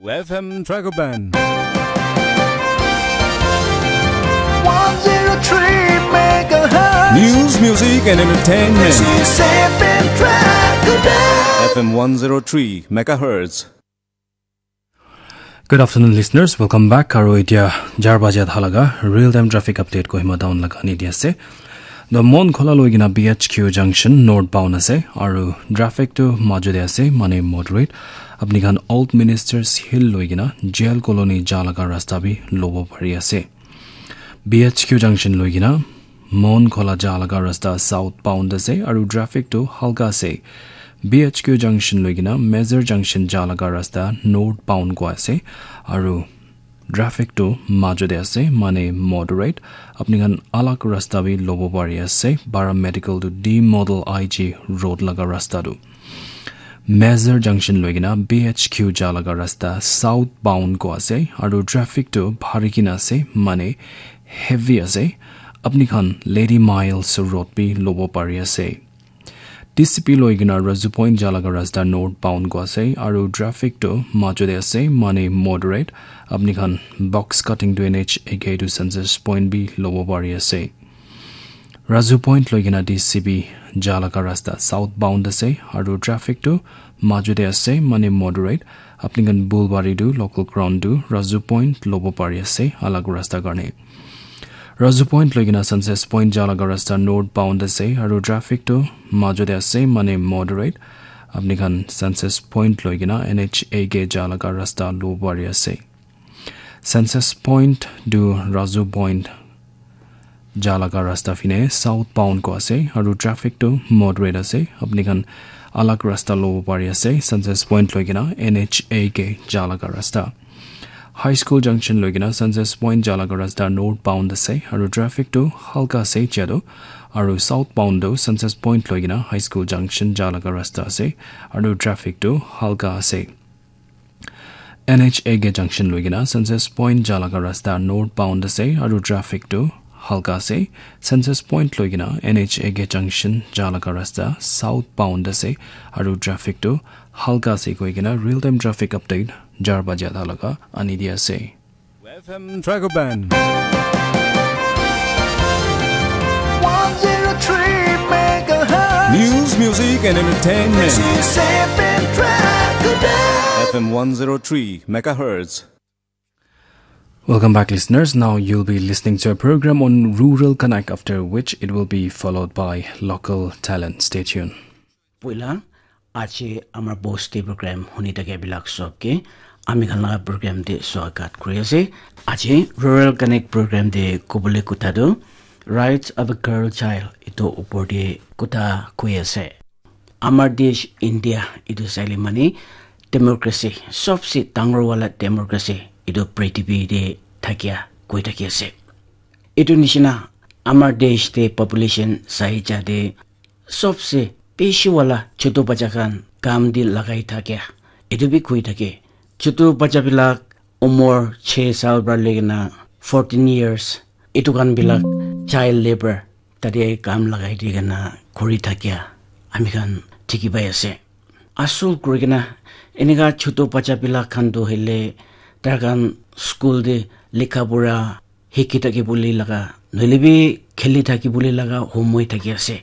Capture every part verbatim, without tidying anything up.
F M Dragoban. one zero three megahertz. News, music, and entertainment. This is F M Dragoban. F M one zero three megahertz. Good afternoon, listeners. Welcome back. Aru etia jar baje thalaga real time traffic update Kohima town laga ani di ase. The Mon Khola loi kena B H Q junction northbound ase. Aru traffic tu majo de ase, mane moderate. Apni khan Old Ministers Hill loi kena jail colony ja laga rasta bi lobo pari ase. B H Q junction loi kena Mon Khola ja laga rasta southbound ase aru traffic tu halka ase. B H Q junction loi kena Mezar junction ja laga rasta northbound go ase aru traffic tu majo de ase, mane moderate. Apni khan alag rasta bi lobo pari ase. Bara Medical tu D Model I G road laga rasta tu. Mezar junction loi kena B H Q ja laga rasta southbound go ase aru traffic tu bhari kena ase, mane heavy ase. Apni khan Lady Miles road bi lobo pari ase. T C P loi kena Razu Point ja laga rasta northbound go ase aru traffic tu majo de ase, mane moderate. Apni khan box cutting tu N H A K tu Census Point bi lobo pari ase. Razu Point loi kena T C P ja laga rasta southbound ase aru traffic tu majo de ase, mane moderate. Apni khan Bulbari tu local ground tu Razu Point lobo pari ase alag rasta karne. Razu Point loi kena Census Point ja laga rasta northbound ase aru traffic tu majo de ase, mane moderate. Apni khan Census Point loi kena N H A K ja laga rasta lobo pari ase. Census Point tu Razu Point ja laga rasta phine southbound go ase aru traffic tu moderate ase. Apni khan alag rasta lobo pari ase Census Point loi kena N H A K ja laga rasta. High School Junction loi kena Census Point ja laga rasta northbound ase aru traffic tu halka ase etia tu. Aru southbound tu Census Point loi kena High School Junction ja laga rasta ase aru traffic tu halka ase. N H A K junction loi kena Census Point ja laga rasta northbound ase aru traffic tu halka ase. Census Point loi kena N H A K junction ja laga rasta southbound ase aru traffic tu halka ase koi kena real time traffic update jar baja thalaga ani di ase. F M Dragoban. one zero three megahertz. News, music, and entertainment. This is F M Dragoban. F M one zero three megahertz. Welcome back, listeners. Now you'll be listening to a program on Rural Connect, after which it will be followed by Local Talent. Stay tuned. Puila, aji amar bosti program huni thake bilak sob ke, ami khan laga program te swagat kuri ase. Aji Rural Connect program te kobole kotha tu Rights of a Girl Child itu upor te kotha koi ase. Amar desh India itu saile mane democracy, sobse dangor wala democracy itu prithibi te thakia koi thaki ase. Itu nishina amar desh te population sai jate sobse bishi wala chutu bacha khan kam te lagai thakia itu bi koi thake. Chutu bacha bilak umor chhe sal pra loi kena fourteen years itu khan bilak child labor tate kam lagai di kena kuri thakia ami khan dikhi pai ase. Asol kuri kena enika chutu bacha bilak khan tu hoile tar khan school te likha pura hiki thaki bole laga, noile bi kheli thaki bole laga homoi thaki ase.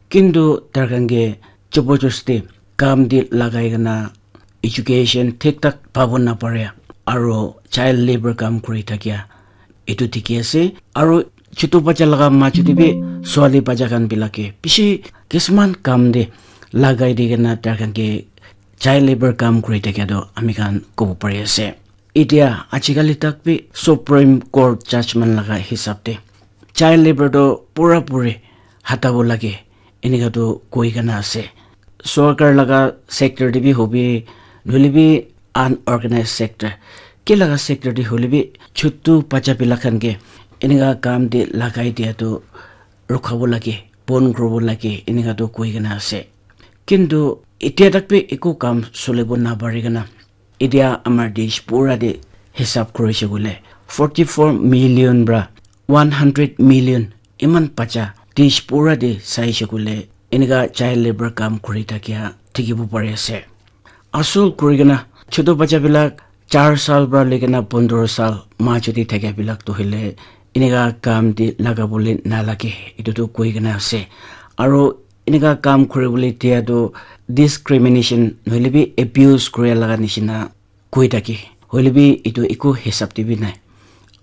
Kintu tar khan ke jabardasti kam te lagai kena education thik thak pabo napare aro child labor kam kuri thakia etu dikhi ase. Aro chutu bacha laga majo te bi swali bacha khan bilak ke bishi kisuman kam te lagai di kena tar khan ke child labor kam kuri thakia toh ami khan kobo pari ase. Etia ajikali tak bi Supreme Court judgment laga hisab te child labor toh pura puri hatabo lage enika toh koi kena ase. Sorkar laga sector te bi hobi, nohoile bi unorganized sector, ki laga sector te hoile bi chutu bacha bilak khan ke enika kam te lagai dia toh rukhabo lage, bon kuribo lage enika toh koi kena ase. Kintu etia tak bi eku kam sulibo napari kena etia amar desh pura te hisab kurishe koile forty four million pra one hundred million iman bacha desh pura te saishe koile enika child labor kam kuri thakia dikhibo pari ase. Asol kuri kena chutu bacha bilak char sal para loikena pondro sal majot te thakia bilak tu hoile enika kam te lagabole nalage, etu tu koi kena ase. Aro enika kam kuribole dia tu discrimination nohoile bi abuse kuria laga nishina koi thake, hoile bi etu eku hisab te bi nai.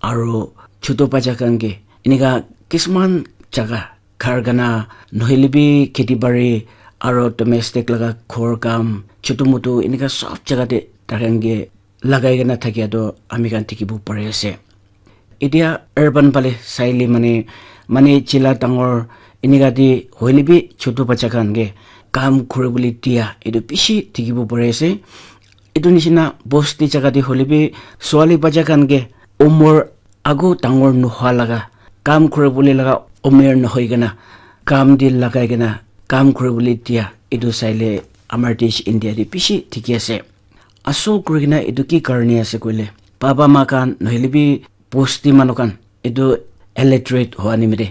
Aro chotu bacha khan ke enika kisman jaga karkhana nohoile bi kheti bari aro domestic laga ghor kam chotu motu enika sob jaga te takhan ke lagai kena thakia tu ami khan dikhibo pari ase. Etia urban phale saile mane, mane chila dangor enika te hoile bi chotu bacha khan ke kam kuribole dia etu bishi dikhibo pari ase. Etu nishina bosti jaga te hoile bi suali bacha khan ke umor agu dangor nohua laga kam kuribole laga umor nohoi kena kam te lagai kena kam kuribole dia etu saile amar desh India te bishi dikhi ase. Asol kuri kena etu ki karne ase koile, baba ma khan nohoile bi bosti manu khan etu illiterate hua nimite,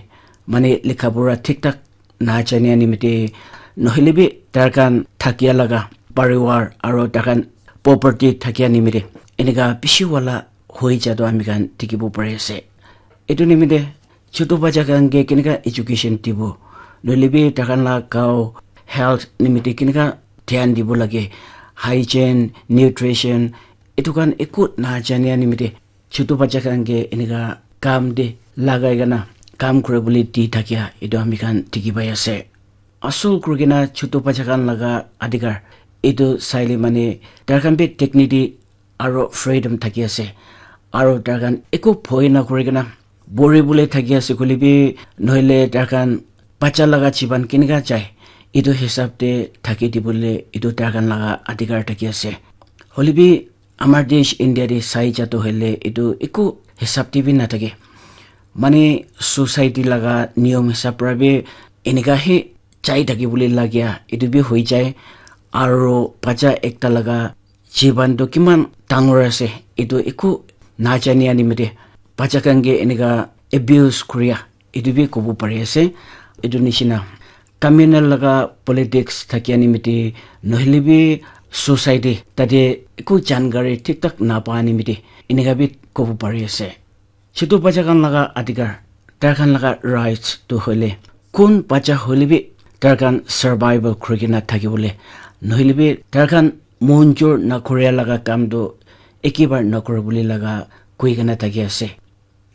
mane likha pura thik thak na jania nimite, nohoile bi tar khan thakia laga pariwar aro tar khan property thakia nimite enika bishi wala hoi ja tu ami khan dikhibo pari ase. Etu nimite chotu bacha khan ke kenika education dibo, nohoile bi tar khan la gao health nimite kenika dhyan dibo lage, hygiene, nutrition, etu khan eku na jania nimite chotu bacha khan ke enika kam te lagai kena kam kuribole di thakia etu ami khan dikhi pai ase. Asol kuri kena chotu bacha khan laga adhikar etu saile mane tar khan bi dignity aro freedom thaki ase, aro tar khan eku bhoi na kuri kena bori bole thaki ase koile bi nohoile tar khan bacha laga jiban kenika jai etu hisab te thaki dibole etu tar khan laga adhikar thaki ase. Hoile bi amar desh India te sai ja tu hoile etu eku hisab te bi nathake, mane society laga niyom hisab para bi enika he jai thaki bole lagia etu bi hoi jai. Aro bacha ekta laga jiban tu kiman dangor ase etu eku na jania nimite bacha khan ke enika abuse kuria etu bi kobo pari ase. Etu nishina communal laga politics thakia nimite nohoile bi society tate eku jankari thik thak na pa nimite enika bi kobo pari ase. Chotu bacha khan laga adhikar, tar khan laga rights tu hoile kun bacha hoile bi tar khan survival kuri kena thaki bole, nohoile bi tar khan monjur na kuria laga kam tu ekebar na kuri bole laga koi kena thaki ase.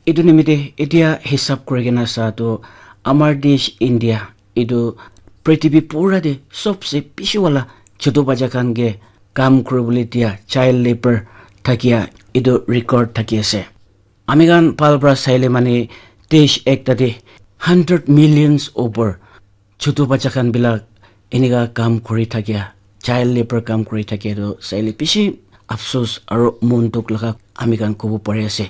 Etu nimite etia hisab kuri kena sa tu amar desh India etu prithibi pura te sobse bishi wala chotu bacha khan ke kam kuribole dia child labor thakia etu record thaki ase. Ami khan bhal para saile mane desh ekta te hundred millions over chotu bacha khan bilak enika kam kuri thakia, child labor kam kuri thakia tu saile bishi afsus aro mon dukh laga ami khan kobo pari ase.